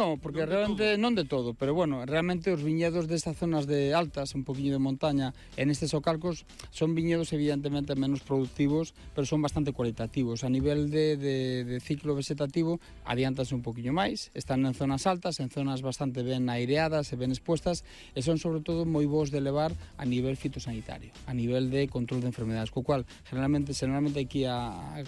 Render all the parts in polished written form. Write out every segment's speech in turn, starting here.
No, porque realmente non de todo, pero bueno, realmente os viñedos destas zonas de altas, un poquinho de montaña, en estes socalcos, son viñedos evidentemente menos productivos, pero son bastante cualitativos. A nivel de ciclo vegetativo, adiantanse un poquinho máis, están en zonas altas, en zonas bastante ben aireadas e ben expuestas, e son sobre todo moi bons de levar a nivel fitosanitario, a nivel de control de enfermedades, co cual, generalmente aquí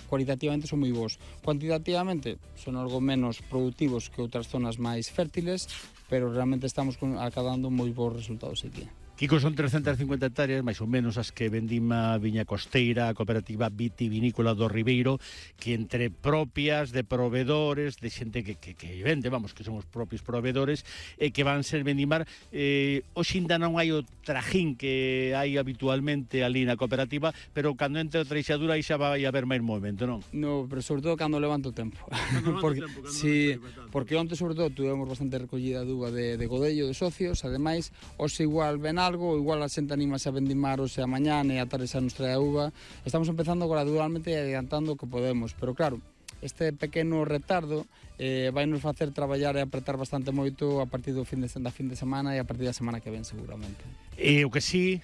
cualitativamente son moi bons. Cuantitativamente, son algo menos productivos que outras zonas máis fértiles, pero realmente estamos acadando moi bons resultados aquí. Kiko, son 350 hectáreas, máis ou menos, as que vendima Viña Costeira, a cooperativa vitivinícola do Ribeiro, que entre propias de proveedores, de xente que vende, vamos, que son os propios proveedores, que van ser vendimar. Hoxe ainda non hai o trajín que hai habitualmente ali na cooperativa, pero cando entre a treixadura aí xa vai haber máis movimento, non? No, pero sobre todo cando levanto o tempo. Porque onte, sobre todo, tuvemos bastante recollida de uva de Godello, de socios, ademais, hoxe igual ven algo, igual a xente animase a vendimar hoxe a mañán e a tarde xa nos trae a uva. Estamos empezando gradualmente e adiantando o que podemos, pero claro, este pequeno retardo vai nos facer traballar e apretar bastante moito a partir da fin de semana e a partir da semana que ven seguramente. O que sí,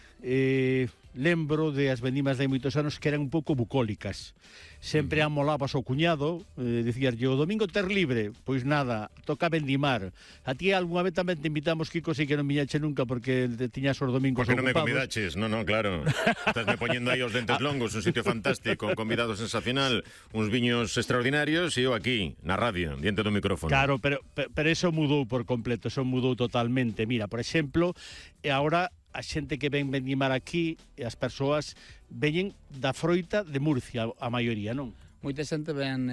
lembro de as vendimas de hai moitos anos que eran un pouco bucólicas. Sempre amolabas ao cuñado, dicías, o domingo ter libre, pois nada, toca vendimar. A ti algunha vez tamén te invitamos, Kiko, si que non viñache nunca porque tiñas os domingos porque ocupados. Porque non me convidaches, no, claro. Estás me poñendo aí os dentes longos, un sitio fantástico, un convidado sensacional, uns viños extraordinarios, e eu aquí, na radio, diante do micrófono. Claro, pero eso mudou por completo, eso mudou totalmente. Mira, por exemplo, agora a xente que ven vendimar aquí, e as persoas veñen da froita de Murcia, a maioría, non? Moita xente ven,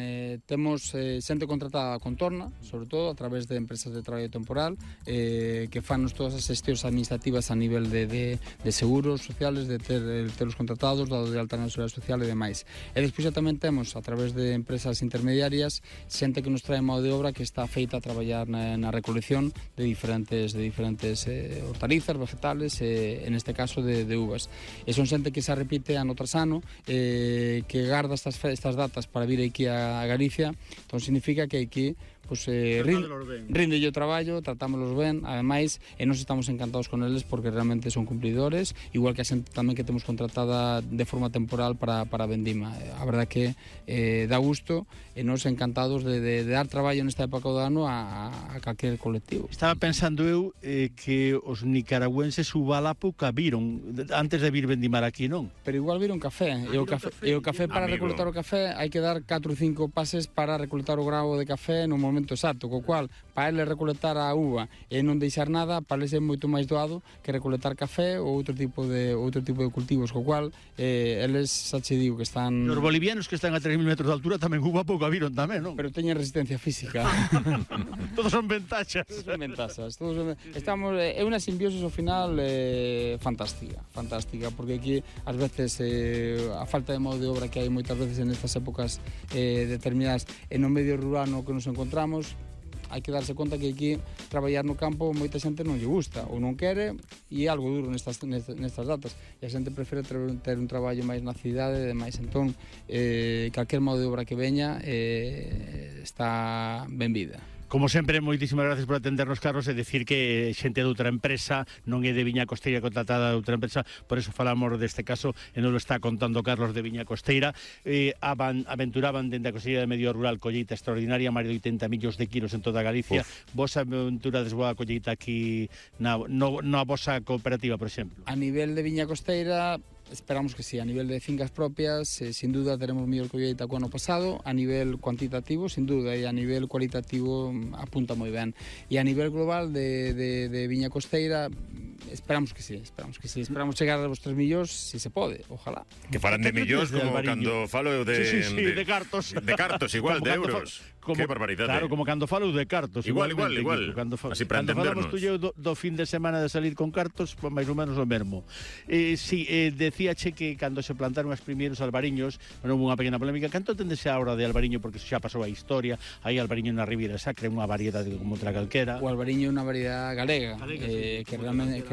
temos xente contratada a contorna, sobre todo a través de empresas de traballo temporal, que fanos todas as xestións administrativas a nivel de seguros sociales, de terlos contratados, dado de alta na Seguridade Social e demais. E despois tamén temos, a través de empresas intermediarias, xente que nos trae mão de obra que está feita a traballar na recolección de diferentes hortalizas, vegetales, en este caso de uvas. E son xente que se repite ano tras ano, que garda estas datas para vir aquí a Galicia, entón significa que aquí rinde o traballo, tratámoslos ben, ademais, e nos estamos encantados con eles porque realmente son cumplidores, igual que a xente tamén que temos contratada de forma temporal para vendima. A verdad que dá gusto e nos encantados de dar traballo nesta época do ano a calquer colectivo. Estaba pensando eu que os nicaragüenses uvala pouca viron antes de vir vendimar aquí, non? Pero igual viron café, e o café para recolectar o café hai que dar 4 ou 5 pases para recolectar o grao de café no momento exacto, co cual para eles recolectar a uva e non deixar nada, para eles é moito máis doado que recolectar café ou outro tipo de cultivos, co cual eles xa che digo que están... Os bolivianos que están a 3.000 metros de altura tamén uva pouco a viron tamén, non? Pero teñen resistencia física. Todos son ventaxas. Estamos, é unha simbiosis ao final fantástica, porque aquí ás veces a falta de mão de obra que hai moitas veces en estas épocas determinadas e no medio rural no que nos encontramos, hai que darse conta que aquí traballar no campo moita xente non lle gusta ou non quere, e é algo duro nestas datas, e a xente prefere ter un traballo máis na cidade e demais. Entón, calquer modo de obra que veña está benvida. Como sempre, moitísimas gracias por atendernos, Carlos, e decir que xente de outra empresa, non é de Viña Costeira contratada de outra empresa, por eso falamos deste caso, e non lo está contando Carlos de Viña Costeira. Aventuraban dende a Consellería de Medio Rural colleita extraordinaria, máis de 80 millóns de kilos en toda Galicia. Vos aventurades boa colleita aquí na vosa cooperativa, por exemplo? A nivel de Viña Costeira, esperamos que sí. A nivel de fincas propias, sin duda teremos mellor colleita co ano pasado. A nivel cuantitativo, sin duda, e a nivel cualitativo apunta moi ben. E a nivel global de Viña Costeira, esperamos que sí. Esperamos chegar aos 3 millóns, si se pode, ojalá. Que falan de millóns como cando falo de... Sí, de cartos. De cartos, igual, de euros. Que barbaridade. Claro, como cando falo de cartos. Igual. Así para entendernos. Cando falamos tú do fin de semana de salir con cartos, pues máis ou menos o mesmo. Decíache que cando se plantaron os primeiros albariños, non houve unha pequena polémica. Canto tendese a hora de albariño, porque xa pasou a historia, hai albariño na Ribeira Sacra, unha variedade como outra calquera. O albariño é unha variedade galega, que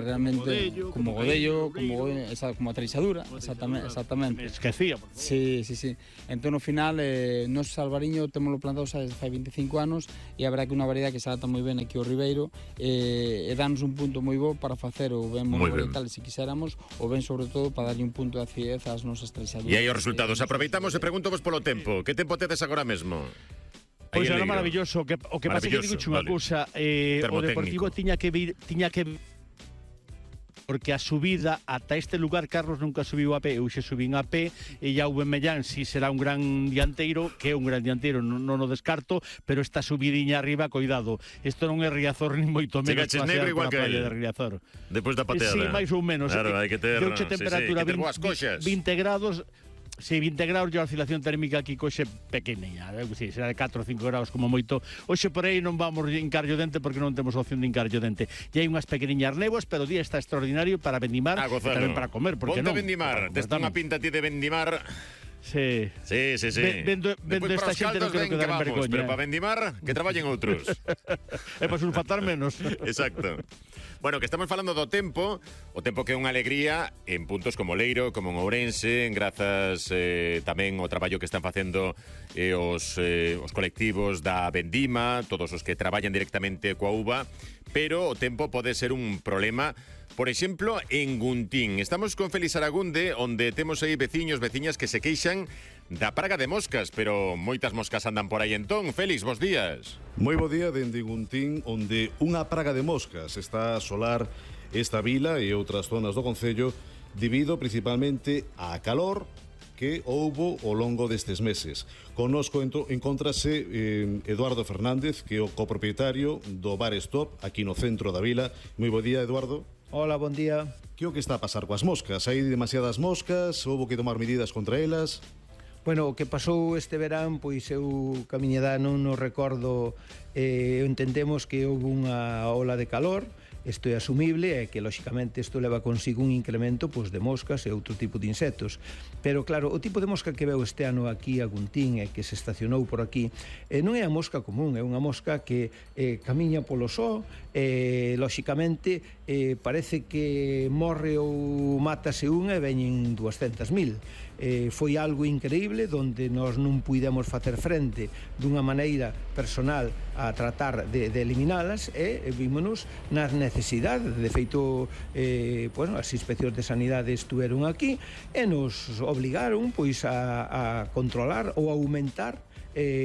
realmente como Godello, como a treixadura, exactamente. Me esquecía. Sí. Entón, no final, nos albariño témoslo plantado xa desde fai 25 anos e a verdad que é unha variedade que se adapta moi ben aquí ao Ribeiro e danos un punto moi bo para facer o ben monovarietal se quixéramos, o ben sobre todo para darlle un punto de acidez ás nosas treixaduras. E aí os resultados, aproveitamos e preguntovos polo tempo. Que tempo tedes agora mesmo? Pois era maravilloso, o que pasa que digo unha cousa, o Deportivo tiña que porque a subida ata este lugar Carlos nunca subiu a pé, eu xe subín a pé e Jaume Mellán si será un gran dianteiro, que é un gran dianteiro, non o descarto, pero esta subidiña arriba, coidado, isto non é Riazor ni moito menos. Chegaches negro igual que de Riazor. Despois da pateada. Sí, máis ou menos. Claro, hai que ter temperatura 20 grados. Se 20 graus, a oscilación térmica aquí coxe pequeniña, sí, será de 4 ou 5 graus como moito. Hoxe por aí non vamos encarlle o dente porque non temos opción de encarlle o dente. E hai unhas pequeniñas néboas, pero o día está extraordinario para vendimar e tamén para comer, porque non. Ponte vendimar, tes unha pinta ti de vendimar. Sí. Vendo esta xente non quero quedar en vergoña. Pero para vendimar, que traballen outros. É para sulfatar menos. Exacto. Bueno, que estamos falando do tempo, o tempo que é unha alegría en puntos como Leiro, como en Ourense, grazas tamén ao traballo que están facendo os colectivos da Vendima, todos os que traballan directamente coa uva, pero o tempo pode ser un problema. Por exemplo, en Guntín. Estamos con Félix Aragunde, onde temos aí veciñas que se queixan da praga de moscas, pero moitas moscas andan por aí entón. Félix, bos días. Moi bo día dende Guntín, onde unha praga de moscas está a asolar esta vila e outras zonas do concello debido principalmente á calor que houbo ao longo destes meses. Connosco encontrase Eduardo Fernández, que é o copropietario do Bar Stop, aquí no centro da vila. Moi bo día, Eduardo. Hola, bon día. Que o que está a pasar coas moscas? Hai demasiadas moscas? Houbo que tomar medidas contra elas? Bueno, o que pasou este verán, pois eu ca miña edad non recordo, entendemos que houve unha ola de calor, isto é asumible e que, lóxicamente, isto leva consigo un incremento pois, de moscas e outro tipo de insectos. Pero, claro, o tipo de mosca que veo este ano aquí a Guntín e que se estacionou por aquí non é a mosca común, é unha mosca que camiña polo só e, lóxicamente, parece que morre ou mátase unha e veñen 200.000. Foi algo increíble donde nós non puidemos facer frente dunha maneira personal a tratar de eliminalas e vímonos nas necesidades. De feito, as inspeccións de sanidade estuveron aquí e nos obligaron pois a controlar ou aumentar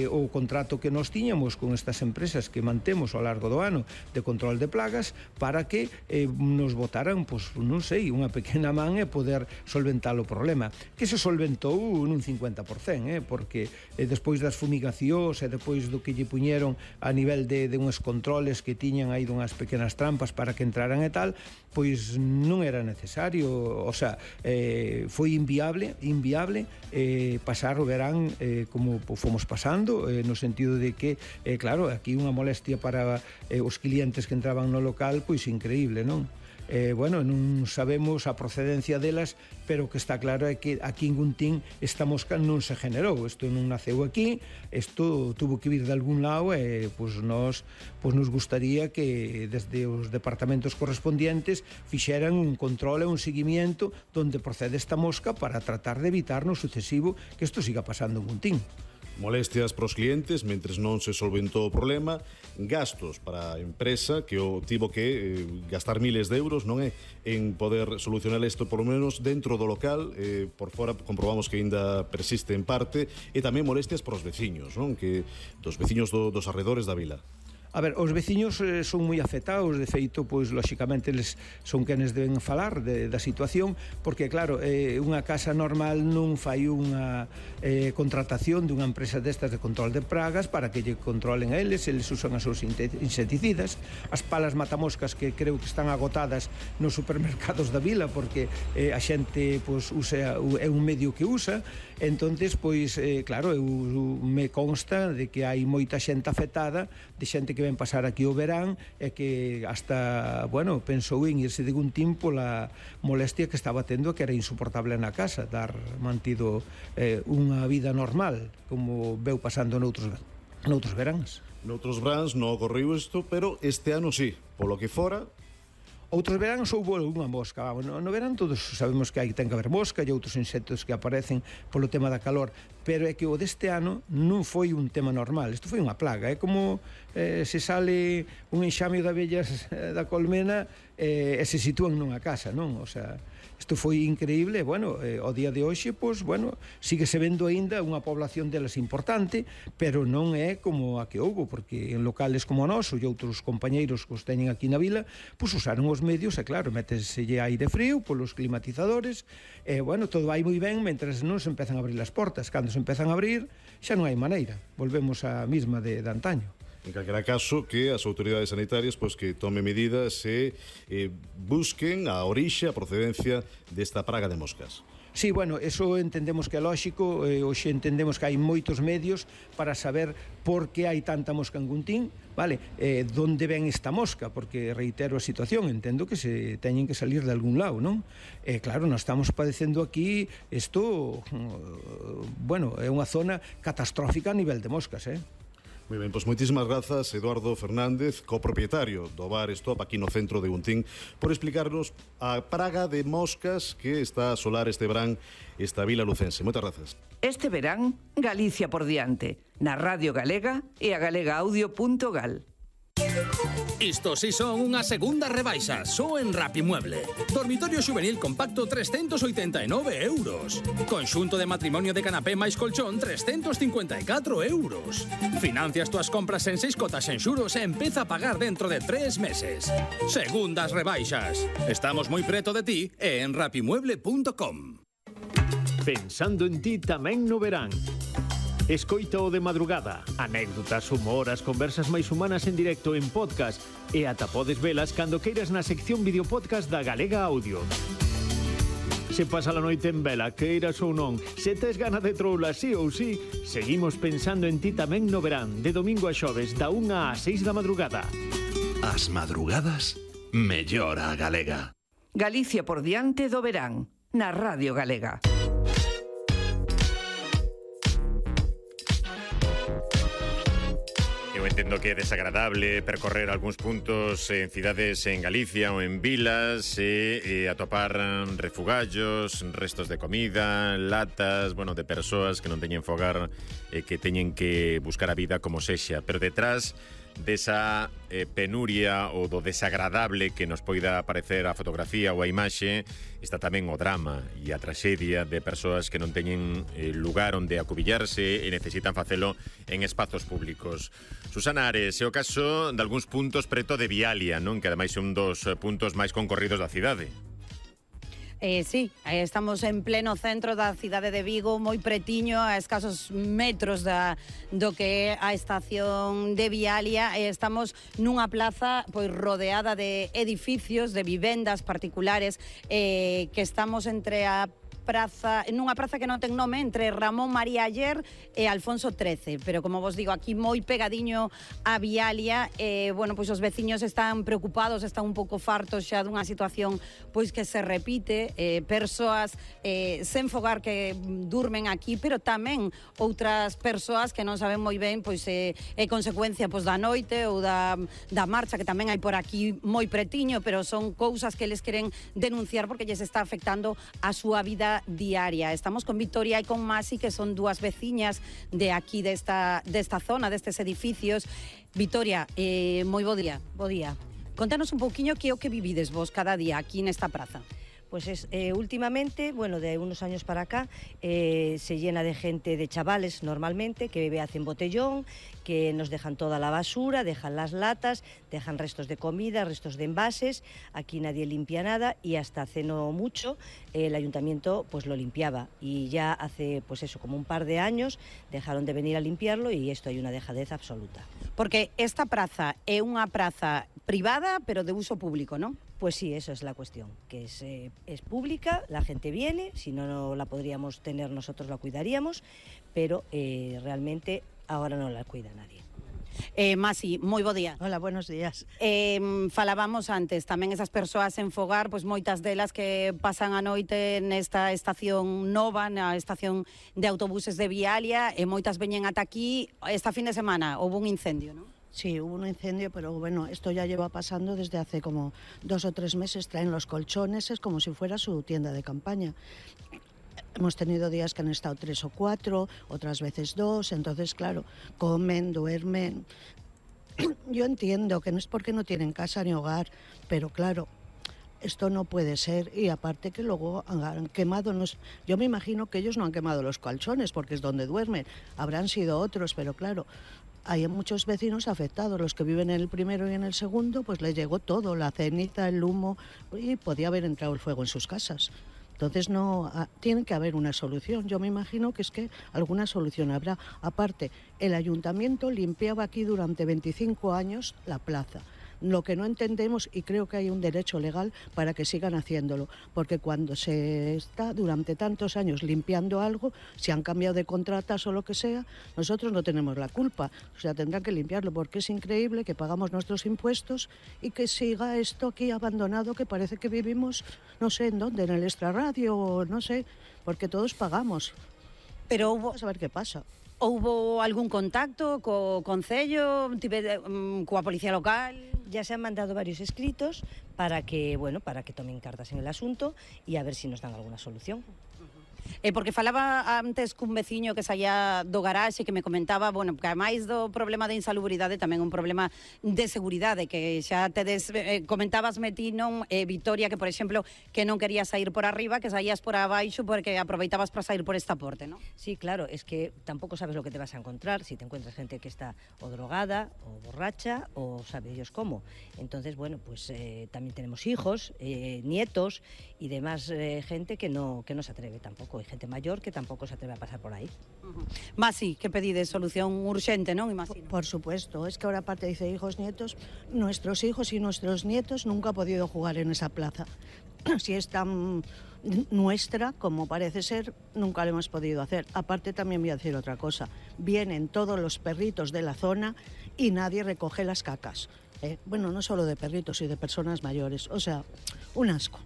o contrato que nos tiñamos con estas empresas que mantemos ao largo do ano de control de plagas para que nos botaran, pois, non sei, unha pequena man e poder solventar o problema, que se solventou nun 50%, porque despois das fumigacións e despois do que lle puñeron a nivel de uns controles que tiñan aí dunhas pequenas trampas para que entraran e tal, pois non era necesario, o sea, foi inviable pasar o verán como fomos pasando, no sentido de que, claro, aquí unha molestia para os clientes que entraban no local, pois increíble, non? Non sabemos a procedencia delas, pero o que está claro é que aquí en Guntín esta mosca non se generou, isto non naceu aquí, isto tuvo que vir de algún lado e nos gustaría que desde os departamentos correspondientes fixeran un control e un seguimiento donde procede esta mosca para tratar de evitar no sucesivo que isto siga pasando en Guntín. Molestias pros clientes mentres non se solventou o problema, gastos para a empresa que o tivo que gastar miles de euros, non é, en poder solucionar isto por lo menos dentro do local, por fora comprobamos que ainda persiste en parte, e tamén molestias pros veciños, non, que dos veciños dos arredores da vila. A ver, os veciños son moi afectados, de feito, pois, lóxicamente, eles son quenes deben falar da situación, porque, claro, unha casa normal non fai unha contratación dunha empresa destas de control de pragas para que lle controlen a eles usan as seus insecticidas, as palas matamoscas que creo que están agotadas nos supermercados da vila, porque a xente, pois, é un medio que usa, entonces, pois, claro, me consta de que hai moita xente afectada, de xente que ven pasar aquí o verán e que hasta, pensou en irse de Guntín pola molestia que estaba tendo, que era insoportable na casa, dar mantido unha vida normal, como veu pasando noutros veráns. Noutros veráns non ocorreu isto, pero este ano sí, polo que fora. Outros veráns houve unha mosca. No verán todos sabemos que ten que haber mosca e outros insectos que aparecen polo tema da calor, pero é que o deste ano non foi un tema normal, isto foi unha plaga, é como se sale un enxame de abellas da colmena e se sitúan nunha casa, non? O sea, isto foi increíble, bueno, ao día de hoxe, pois, bueno, síguese vendo aínda unha población delas importante, pero non é como a que houbo, porque en locales como o noso e outros compañeiros que os teñen aquí na vila, pois usaron os medios, e claro, méteselle aire frío polos climatizadores, e, bueno, todo vai moi ben mentras non se empezan a abrir as portas. Cando se empezan a abrir, xa non hai maneira, volvemos á mesma de antaño. En calquera caso, que as autoridades sanitarias pois que tomen medidas e busquen a orixe, a procedencia desta praga de moscas. Sí, bueno, eso entendemos que é lóxico, hoxe entendemos que hai moitos medios para saber por que hai tanta mosca en Guntín, vale? Donde ven esta mosca, porque reitero a situación, entendo que se teñen que salir de algún lado, non? Claro, nós estamos padecendo aquí, isto, bueno, é unha zona catastrófica a nivel de moscas, Moi ben, pois moitísimas grazas, Eduardo Fernández, copropietario do bar Stop aquí no centro de Guntín, por explicarnos a praga de moscas que está a asolar este verán esta vila lucense. Moitas grazas. Este verán, Galicia por diante, na Radio Galega e a galegaaudio.gal. Isto si son unha segunda rebaixa, só en Rapimueble. Dormitorio xuvenil compacto 389 euros. Conxunto de matrimonio de canapé máis colchón 354 euros. Financias túas compras en 6 cotas en xuros e empeza a pagar dentro de 3 meses. Segundas rebaixas. Estamos moi preto de ti e en rapimueble.com. Pensando en ti tamén no verán. Escoita o de madrugada, anécdotas, humor, as conversas máis humanas en directo en podcast e ata podes velas cando queiras na sección videopodcast da Galega Audio. Se pasa a noite en vela, queiras ou non, se tes gana de troula sí ou sí, seguimos pensando en ti tamén no verán, de domingo a xoves, da 1 a 6 da madrugada. As madrugadas, mellor a Galega. Galicia por diante do verán, na Radio Galega. Eu entendo que é desagradable percorrer algúns puntos en cidades en Galicia ou en vilas e atopar refugallos, restos de comida, latas, bueno, de persoas que non teñen fogar e que teñen que buscar a vida como sexa, pero detrás desa penuria ou do desagradable que nos poida parecer a fotografía ou a imaxe está tamén o drama e a traxedia de persoas que non teñen lugar onde acubillarse e necesitan facelo en espazos públicos. Susana Ares, é o caso de algúns puntos preto de Vialia, non? Que ademais é un dos puntos máis concorridos da cidade. Sí, estamos en pleno centro da cidade de Vigo, moi pretiño, a escasos metros do que é a estación de Vialia, e estamos nunha plaza pois rodeada de edificios, de vivendas particulares, que estamos entre a praza, nunha praza que non ten nome, entre Ramón María Aller e Alfonso XIII, pero como vos digo, aquí moi pegadiño a Vialia, bueno, pois os veciños están preocupados, están un pouco fartos xa dunha situación pois que se repite, persoas sen fogar que durmen aquí, pero tamén outras persoas que non saben moi ben pois é consecuencia pois da noite ou da marcha que tamén hai por aquí moi pretiño, pero son cousas que eles queren denunciar porque lles está afectando a súa vida diaria. Estamos con Victoria e con Masi, que son dúas veciñas de aquí desta zona, destes edificios. Victoria, moi bo día. Bo día. Contanos un pouquiño que é o que vivides vos cada día aquí nesta praza. Pues últimamente, bueno, de unos años para acá, se llena de gente, de chavales normalmente, que bebe hacen botellón, que nos dejan toda la basura, dejan las latas, dejan restos de comida, restos de envases. Aquí nadie limpia nada y hasta hace no mucho el ayuntamiento pues lo limpiaba, y ya hace pues eso, como un par de años dejaron de venir a limpiarlo, y esto hay una dejadez absoluta. Porque esta praza é unha praza privada, pero de uso público, ¿no? Pues sí, eso es la cuestión, que es pública, la gente viene, si no la podríamos tener nosotros la cuidaríamos, pero realmente ahora no la cuida nadie. Masi, moi bo día. Hola, buenos días. Falábamos antes, tamén esas persoas en fogar, pois moitas delas que pasan a noite nesta estación nova, na estación de autobuses de Vialia, e moitas veñen ata aquí. Esta fin de semana houve un incendio, ¿no? Sí, hubo un incendio, pero bueno, esto ya lleva pasando desde hace como 2 o 3 meses. Traen los colchones, es como si fuera su tienda de campaña. hemos tenido días que han estado 3 o 4, otras veces 2, entonces, claro, comen, duermen. Yo entiendo que no es porque no tienen casa ni hogar, pero claro, esto no puede ser, y aparte que luego han quemado, yo me imagino que ellos no han quemado los colchones porque es donde duermen, habrán sido otros, pero claro, hay muchos vecinos afectados, los que viven en el primero y en el segundo, pues les llegó todo, la ceniza, el humo, y podía haber entrado el fuego en sus casas. Entonces tiene que haber una solución. Yo me imagino que es que alguna solución habrá. Aparte, el ayuntamiento limpiaba aquí durante 25 años la plaza. Lo que no entendemos, y creo que hay un derecho legal para que sigan haciéndolo, porque cuando se está durante tantos años limpiando algo, si han cambiado de contratas o lo que sea, nosotros no tenemos la culpa. O sea, tendrán que limpiarlo, porque es increíble que pagamos nuestros impuestos y que siga esto aquí abandonado, que parece que vivimos, no sé en dónde, en el extrarradio, o no sé, porque todos pagamos. Pero vamos a ver qué pasa. Houbo algún contacto co Concello, coa Policía Local? Ya se han mandado varios escritos para que tomen cartas en el asunto y a ver si nos dan alguna solución. Porque falaba antes cun veciño que saía do garaxe que me comentaba, bueno, que ademais do problema de insalubridade tamén un problema de seguridade, que xa tedes, comentabasme ti, non, Vitoria, que por exemplo, que non querías sair por arriba, que saías por abaixo porque aproveitabas para sair por esta porte, non? Sí, claro, es que tampouco sabes lo que te vas a encontrar, si te encuentras gente que está o drogada, o borracha, o sabe Dios cómo. Entonces, bueno, pues también tenemos hijos, nietos y demás gente que no se atreve tampoco. Hay gente mayor que tampoco se atreve a pasar por ahí. Masi, que pedides solución urxente, non? Imagino. Por supuesto, es que ahora aparte dice hijos, nietos, nuestros hijos y nuestros nietos nunca han podido jugar en esa plaza. Si es tan nuestra, como parece ser, nunca lo hemos podido hacer. Aparte también voy a decir otra cosa, vienen todos los perritos de la zona y nadie recoge las cacas. Bueno, no solo de perritos y de personas mayores, o sea, un asco.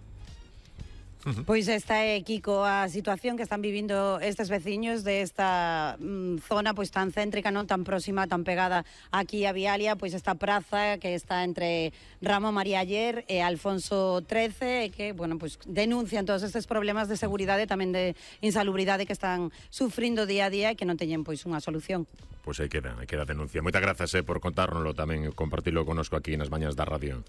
Pois esta é, Kiko, a situación que están vivindo estes veciños desta zona pois tan céntrica, non tan próxima, tan pegada aquí a Vialia, pois esta praza que está entre Ramón María Aller e Alfonso XIII, que, bueno, pois denuncian todos estes problemas de seguridade, tamén de insalubridade que están sufrindo día a día e que non teñen pois unha solución. Pois aí queda a denuncia. Moitas grazas por contárnoslo tamén, compartilo conosco aquí nas mañas da radio.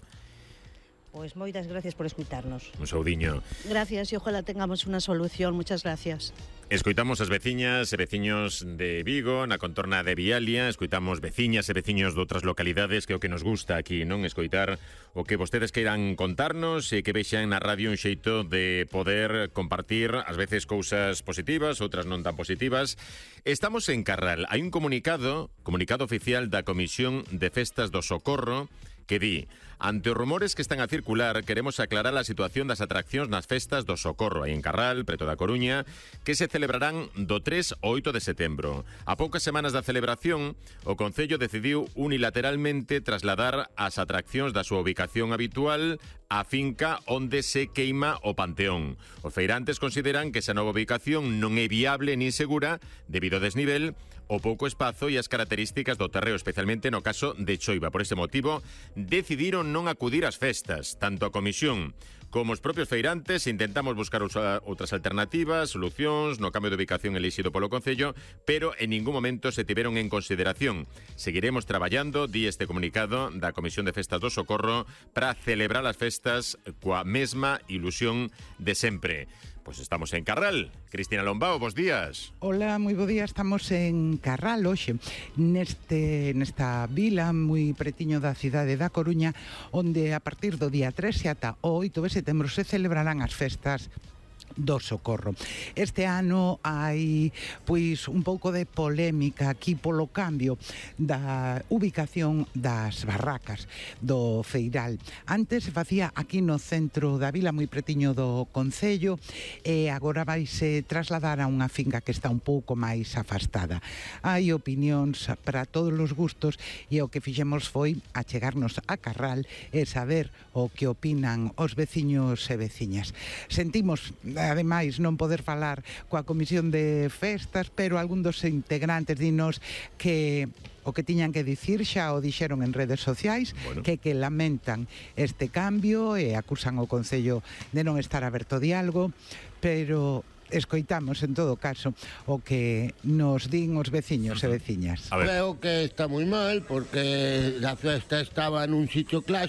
Pues moitas gracias por escutarnos. Un saudiño. Gracias y ojalá tengamos una solución. Muchas gracias. Escoitamos as veciñas e veciños de Vigo, na contorna de Vialia, escoitamos veciñas e veciños de outras localidades, que é o que nos gusta aquí, non? Escoitar o que vostedes queiran contarnos e que vexan na radio un xeito de poder compartir ás veces cousas positivas, outras non tan positivas. Estamos en Carral. Hai un comunicado oficial da Comisión de Festas do Socorro que di: ante os rumores que están a circular, queremos aclarar a situación das atraccións nas festas do Socorro, aí en Carral, preto da Coruña, que se celebrarán do 3 ao 8 de setembro. A poucas semanas da celebración, o Concello decidiu unilateralmente trasladar as atraccións da súa ubicación habitual á finca onde se queima o Panteón. Os feirantes consideran que esa nova ubicación non é viable nin segura debido ao desnivel, o pouco espazo e as características do terreo, especialmente no caso de choiva. Por ese motivo, decidiron non acudir ás festas. Tanto a Comisión como os propios feirantes intentamos buscar outras alternativas, solucións no cambio de ubicación elixido polo Concello, pero en ningún momento se tiveron en consideración. Seguiremos traballando, di este comunicado da Comisión de Festas do Socorro, para celebrar as festas coa mesma ilusión de sempre. Pois estamos en Carral. Cristina Lombao, bos días. Hola, moi bo día. Estamos en Carral hoxe, nesta vila moi pretiño da cidade da Coruña, onde a partir do día 3 e ata o 8 de setembro se celebrarán as festas do Socorro. Este ano hai pois un pouco de polémica aquí polo cambio da ubicación das barracas do Feiral. Antes se facía aquí no centro da vila, moi pretiño do Concello, e agora vaise trasladar a unha finca que está un pouco máis afastada. Hai opinións para todos os gustos e o que fixemos foi achegarnos a Carral e saber o que opinan os veciños e veciñas. Sentimos ademais non poder falar coa Comisión de Festas, pero algún dos integrantes dinos que o que tiñan que dicir xa o dixeron en redes sociais, bueno, que lamentan este cambio e acusan o Concello de non estar aberto a diálogo, pero escoitamos en todo caso o que nos din os veciños e veciñas. Creo que está moi mal porque a festa estaba nun sitio clásico